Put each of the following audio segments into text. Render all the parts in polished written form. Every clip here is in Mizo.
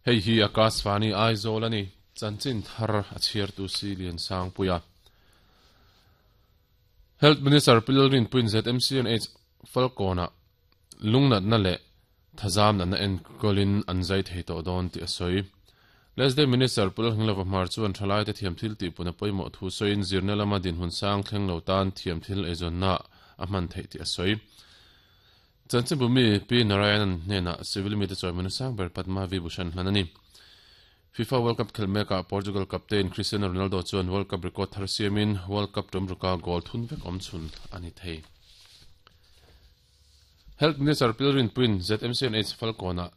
Hei hi Akashvani Aizawl a ni. Chanchin thar a chhiartu si Liansangpuia. Health Minister Pi Lalrinpuiin ZMCNH Falkawnah lungnatna leh thazam natna enkawlin an zai thei tawh dawn tih a sawi. Lesday Minister Pu Lalhnglova Hmar chuan thalaite thiamthil tihpun a pawimawh thu sawiin zirna lama dinhmun sang thleng lo tan thiamthil eizawnna a hman theih tih a sawi. Chanchinbu mi Pi Narayanan hnenah civil mite chawimawina sang ber Padma Vibhushan hlan a ni. FIFA World Cup khelh mekah Portugal captain Cristiano Ronaldo chuan World Cup record thar siamin World Cup tum ruka goal thun vek awm chhun a ni thei. Health Minister Pi Rinpuiin ZMCNH Falkawnah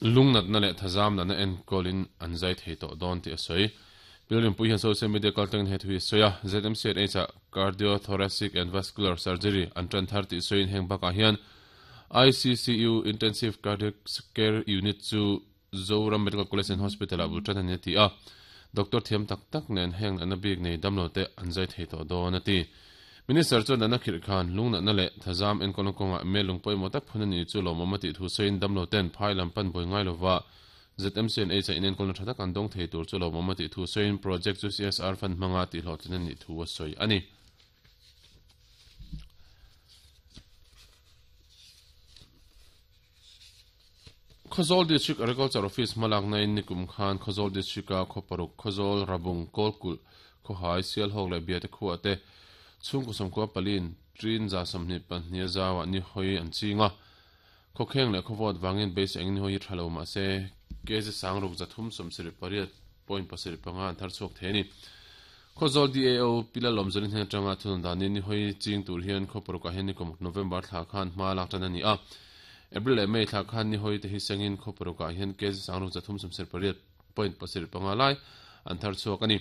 lungnatna leh thazam natna enkawlin an zai thei tawh dawn tih a sawi. Pi Rinpui hian social media kaltlangin he thu hi a sawi a, ZMCNH-ah Cardiothoracic and Vascular Surgery an tan thar tih sawiin heng bakah hian ICCU, Intensive Cardiac Care Unit, chu Zoram Medical College and Hospital-ah bul tan a ni a ti a, doctor thiam tak tak nen heng natna bik nei damlo te an zai thei tawh dawn a ti. Minister chuan natna khirh khan lungnatna leh thazam enkawlna kawngah mel lung pawimawh tak phun a ni chu lawmawm a tih thu sawiin damlo ten phai lam pan buai ngai lova ZMC and H-a inenkawlna tha tak an dawng thei tur chu lawmawm a tih thu sawiin project chu CSR fund hmanga tihhlawhtlin a nih thu a sawi a ni. Khawzawl District Agriculture Office hmalakna in nikum khan Khawzawl District a khaw paruk Khawzawl, Rabung, Kawlkulh, Khawhai, Sialhawk leh Biate khuah te chhungkaw sawmkua paliin Trin 22 a zauah ni hawi an ching a. Khawkheng leh khawvawt vangin beisei engin ni hawi hi tha lo mahse kg sangruk 378.75 an thar chhuak thei a ni. Khawzawl DAO Pi Lalawmzawlin hnen atanga thunun danin ni hawi ching tur hian khaw parukah hian nikum November thla khan hma lak tan a ni a. April leh May thla khan ni hawi te hi sengin khaw parukah hian kg sangruk 378.75 lai an thar chhuak a ni.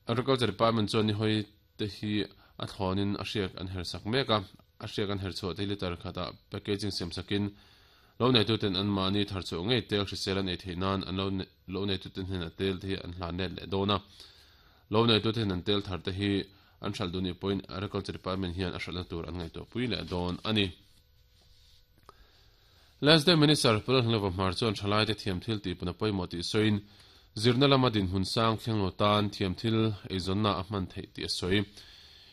Agriculture Department chuan ni hawi te hi a thlawnin a hriak an her sak mek a, a hriak an her chhuah te hi litre khatah packaging siam sakin lo neituten anmahni thar chhuah ngei tel hrisel an ei theih nan an lo lo neituten hnenah tel te hi an hlan let leh dawn a. Lo neitute hian an tel thar te hi an hralh duh nih pawhin Agriculture Department hian a hralhna tur an ngaihtuah pui leh dawn a ni. Last Day Minister Pu Lalhnglova Hmar chuan thalaite thiamthil tihpun a pawimawh tih sawiin, zirna lama dinhmun sang thleng lo tan thiamthil eizawnna a hman theih tih a sawi.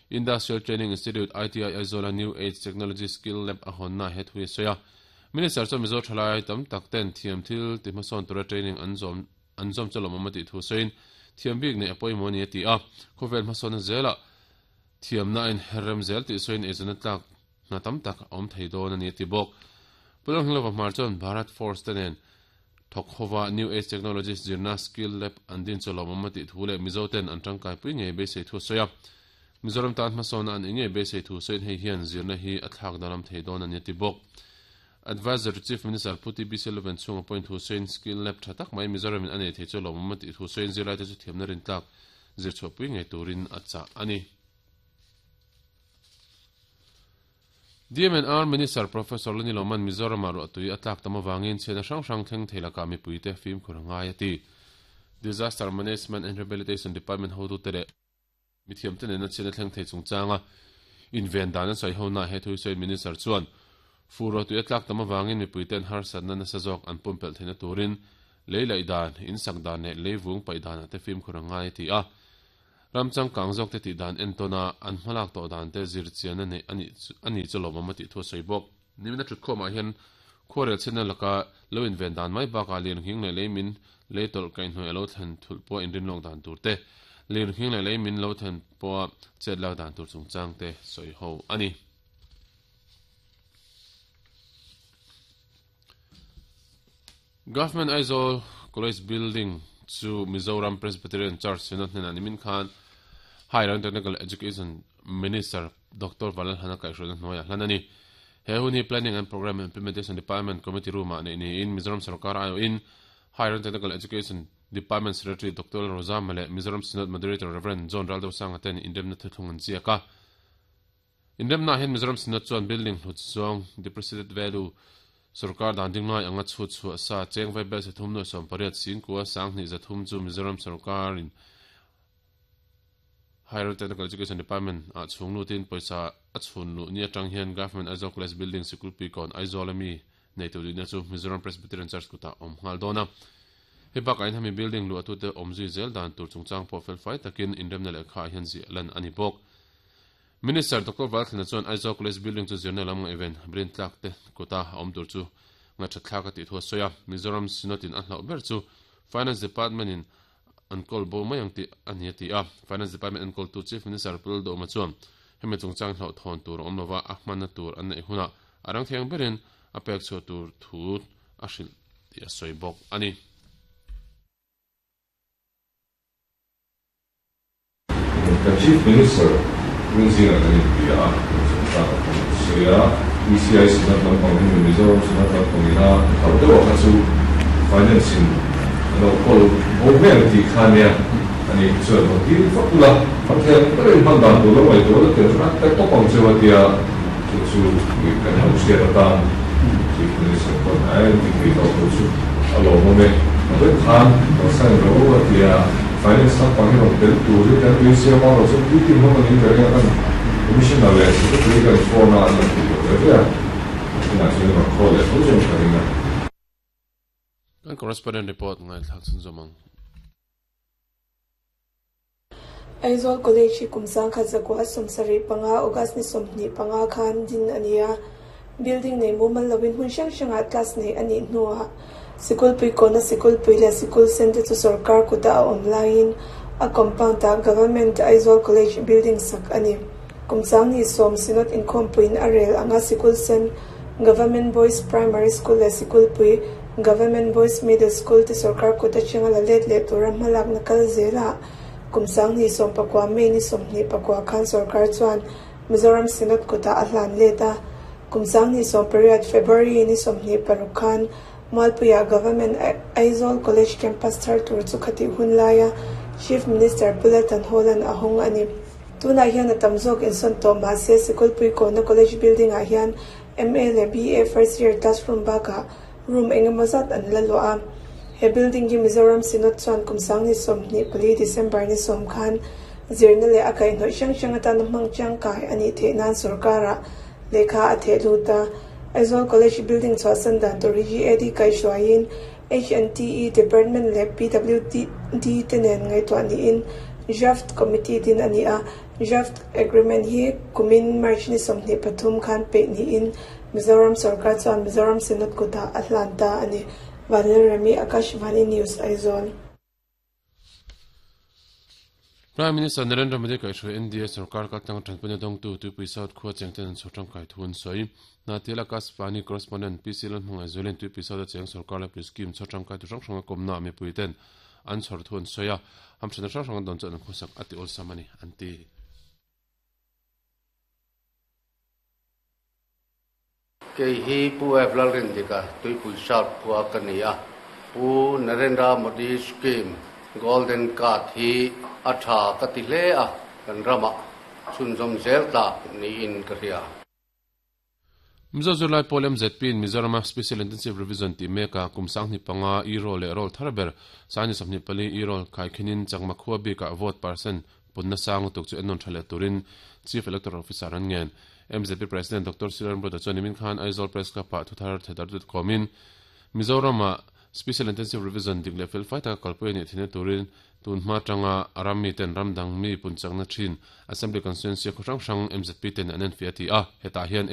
Industrial Training Institute, ITI, Aizawla New Age Technology Skill Lab a hawnna he thu hi a sawi a. Minister chuan Mizo thalai tam tak ten thiamthil ti hmasawn tura training an zawm an zawm chu lawmawm a tih thu sawiin, thiam bik neih a pawimawh a ni a ti a. Khawvel hmasawnna zelah thiamna a inherrem zel tih sawiin eizawnna tlak Hna tam tak a awm thei dawn a ni a ti bawk. Pu Lalhnglova Hmar chuan Bharat Force te nen thawk hova New Age Technologies zirna Skill Lab an din chu lawmawm a tih thu leh Mizo ten an tangkaipui ngei beisei thu a sawi a. Mizoram tan hmasawnna an ih ngei beisei thu sawiin hei hian zirna hi a thlak dalam thei dawn a ni a ti bawk. Adviser to Chief Minister Pu TBC Luven chhunga pawhin thu sawiin Skill Lab tha tak mai Mizoramin a nei thei chu lawmawm a tih thu sawiin zirlaite chu thiamna rintlak zirchhuahpui ngei turin a chah a ni. DMNR Minister Professor Lani Loman Mizoram-ah ruahtui a tlak tam avangin chhiatna hrang hrang thleng thei lakah mipuite fimkhur a ngai a ti. Disaster Management and Rehabilitation Department hotute leh mithiamte nena chhiatna thleng thei chungchanga inven dan an sawi honaah he thu hi sawiin Minister chuan fur ruahtui a tlak tam avangin mipuite'n harsatna nasa zawk an pumpelh theihna turin lei laih dan, insak dan leh leivung paih danah te fimkhur a ngai a ti a. Ram changkang zawk te tih dan entawn a, an hmalak tawh dan te zir chian a neih a nih a ni chu lawmawm a tih thu a sawi bawk. Nimin a thutkhawmah hian khuarel chhiatna laka lo inven dan mai bakah lirnghing leh lei min lei tawlh kaihhnawih a lo thlen thulh pawha inrin lawk dan tur te, lirnghing leh lei min lo thlen pawha chet lak dan tur chungchang te sawi ho a ni. Government Aizawl College Building chu Mizoram Presbyterian Church Synod hnenah nimin khan Higher and Technical Education Minister Doctor Vanlalhana kaihhruaina hnuaiah hlan a ni. He hun hi Planning and Programme Implementation Department Committee Room-ah neih niin Mizoram Sorkar aiawhin Higher and Technical Education Department Secretary Doctor Lalrozama leh Mizoram Synod Moderator Rev. John Raldosanga ten inremna thuthlung an ziak a. Inremnaah hian Mizoram Synod chuan building hlut zawng, depreciated value, sorkar dan ding lai anga chhut chhuah sa cheng vai bel sathum nuaih 18 singkua sanghnih 300 chu Mizoram sorkarin Higher Technical Education Department ah chhung lutin pawisa a chhun luh ni atang hian Government Aizawl College Building Sikulpui kawn Aizawl ami Neitu dihna chu Mizoram Presbyterian Church kutah a awm nghal dawn a. Hei bakah hian hemi building luahtute awmzui zel dan tur chungchang pawh felfai takin inremna lehkha ah hian ziah lan a ni bawk. Minister Doctor Valthlana chuan Aizawl College building chu zirna lam ngaihven rin tlak te kuta a awm tur chu ngaihṭhat thlak a tih thu a sawi a. Mizoram Synod in a hlauh ber chu Finance Department in an kawl bo mai ang tih a ni a ti a. Finance Department enkawltu Chief Minister Pu Lalduhawma chuan hemi chungchang hlauhthawn tur a awm lova, a hmanna tur an neih hunah a rang thiang berin a pek chhuah tur thu a hrilh tih a sawi bawk a ni. Kan Chief Minister Rinzingah kan inbia a, kan chungchang a kan sawi a, ECI Synod lampang hi Mizoram Synod lampang ina hlauh deuh a kha chu Finance in a lo kawl bo mai ang tih kha ania, ani hi chuan rawn dil vak ula, Pathian berin hman dan tur lo ngaihtuah la tel rat ta tawp ang cheu a tia, chu chu kan lo hriat atan Chief Minister pawn a en ti thei tawh tur chu a lawmawm e. A vek khan rawn sign rawh u a tia, Finance lampang hi rawn tel turin kan tuisiam a, rawn chuan meeting hmang anin ka ring a, kan Commissioner leh Secretary kan phone a an rawn tih loh ve ve a, tunah chuan rawn call leh tho chuan ka ring a. Kan correspondent report ngaithlak chhunzawm ang. Aizawl College hi kum 1975 August ni 25 khan din a ni a, building nei mumal loin hmun hrang hrangah class neih a nih hnuah sikulpui kawna sikulpui leh sikul sen te chu sorkar kuta a awm laiin a compound ah Government Aizawl College building sak a ni. Kum 10 Synod inkhawmpuiin a rel anga sikul sen Government Boys Primary School leh sikulpui Government Boys Middle School te sorkar kut atanga la let leh tura hmalakna kal zelah kum 2019 May ni 24 khan sorkar chuan Mizoram Synod kutah a hlan let a. Kum 2018 February ni 26 khan Mualpuia Government Aizawl College campus thar tur chu khatih hun laia Chief Minister Pu Laltan Hawla'n a hawng a ni. Tunah hian a tam zawk insawn tawh mahse Sikulpui Kawna College building ah hian MA leh BA first year classroom bakah room engemaw zat an la luah a. He building hi Mizoram Synod chuan kum 2024 December ni 10 khan zirna leh a kaihhnawih hrang hrang atana hmang tangkai a nih theih nan sorkarah lehkha a theh lut a. Aizawl College building chhuahsan dan tur hi GAD kaihhruaiin HNTE Department leh PWD te nen ngaihtuah niin Draft Committee din a ni a. Draft Agreement hi kumin March ni 23 khan peih niin Mizoram sorkar chuan Mizoram Synod kutah a hlan ta a ni. Vanlalremi, Akashvani News, Aizawl. Prime Minister Narendra Modi kaihhruai NDA sorkar kaltlang tanpuina dawngtu Tuipui South khua chengten an chhawr tangkai thu an sawi. Hnahthial Akashvani Correspondent PC Lalhmangaih Zualin Tuipui South a cheng sorkar laipui scheme chhawr tangkai tu hrang hranga kawmna mipui ten an chhawr thu an sawi a, hamthatna hrang hrang an dawn chuan an khawsak a ti awlsam a ni, an ti. Kei hi Pu F. Lalrindika, Tuipui South khua ka ni a. Pu Narendra Modi Scheme Golden Card hi a tha ka ti hle a, kan ramah chhunzawm zel tlak niin ka hria. Mizo zirlai pawl MZP in Mizorama Special Intensive Revision tih mekah kum 25 e-roll leh roll thar ber 24 e-roll khaikhinin Chakma khua bikah vote percent punna sang lutuk chu ennawn tha leh turin Chief Electoral Officer an ngen. MZP President Doctor Siran Broda chuan nimin khan Aizawl Press Club-ah thuthar thedar dut kawmin Mizorama Special Intensive Revision dik leh felfai taka kalpui a nih theihna turin tun hma atanga a ram miten ram dang mi punchakna thin Assembly Constituency khaw hrang hrang MZP ten an enfiah a ti a, hetah hian.